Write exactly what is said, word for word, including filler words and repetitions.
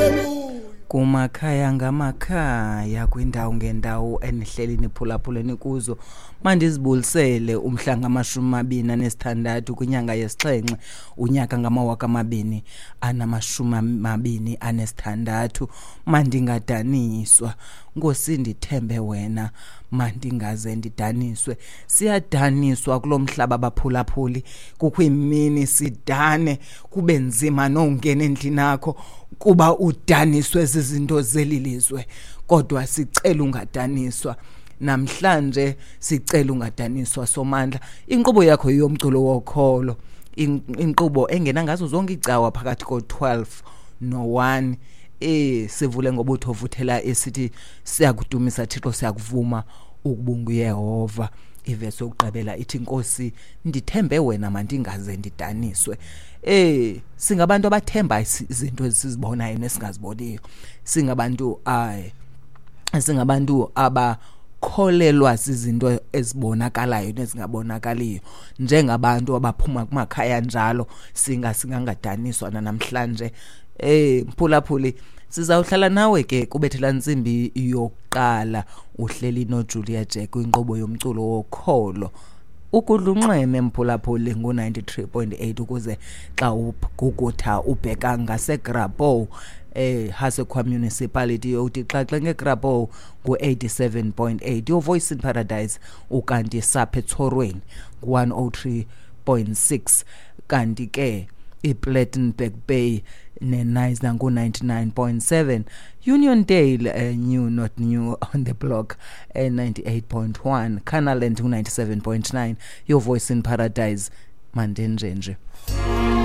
Hallelujah. Kumakhaya ngamakhaya, kwindawo ngendawo enihleli niphulaphuleni kuzo, mandizibulisele umhla ngamashumi amabini anesithandathu kwinyanga yesixhenxe unyaka ngamawaka amabini anamashumi amabini anesithandathu. Mandingadaniswa, Nkosi, ndithembe wena, mandingaze ndidaniswe. Siyadaniswa kulo mhlaba, baphulaphuli. Kukho imini sidane, kube nzima nongena endlini yakho kuba udaniswe zizinto zeli lizwe, kodwa sicela ungadaniswa namhlanje, sicela ungadaniswa, Somandla. Inkqubo yakho yomculo wokholo, inkqubo engena ngazo zonke icawa phakathi ko-twelve no-one. Eh sivule ngobutho vuthela esithi siyakudumisa Thixo, siyakuvuma ukuba unguYehova. Ivesi yokugqibela ithi, Nkosi, ndithembe wena, mandingaze ndidaniswe. Eh singabantu abathemba izinto esizibonayo nesingaziboniyo. Singabantu ay singabantu abakholelwa izinto ezibonakalayo nezingabonakaliyo, njengabantu abaphuma kumakhaya njalo. Singa singangadaniswa namhlanje. Eh mphulaphuli, sizawuhlala nawe ke kubethela ntsimbi yokuqala, uhleli noJulia Jack kwinkqubo yomculo wokholo. Ukudlunxweme, mphulaphuli, ngu-ninety-three point eight, ukuze xa ugugutha ubheka ngaseGrabouw, eh Hessequa Municipality, uthi xaxe ngeGrabouw ngu-eighty-seven point eight, Your Voice in Paradise. Ukanti sapha eTshorweni ngu-one oh three point six, kanti ke iPlettenberg Bay neNyzna ngu-ninety-nine point seven, Uniondale, uh, new not new on the block, uh, ninety-eight point one, Canaland ngu-ninety-seven point nine, Your Voice in Paradise. Mandenjenje.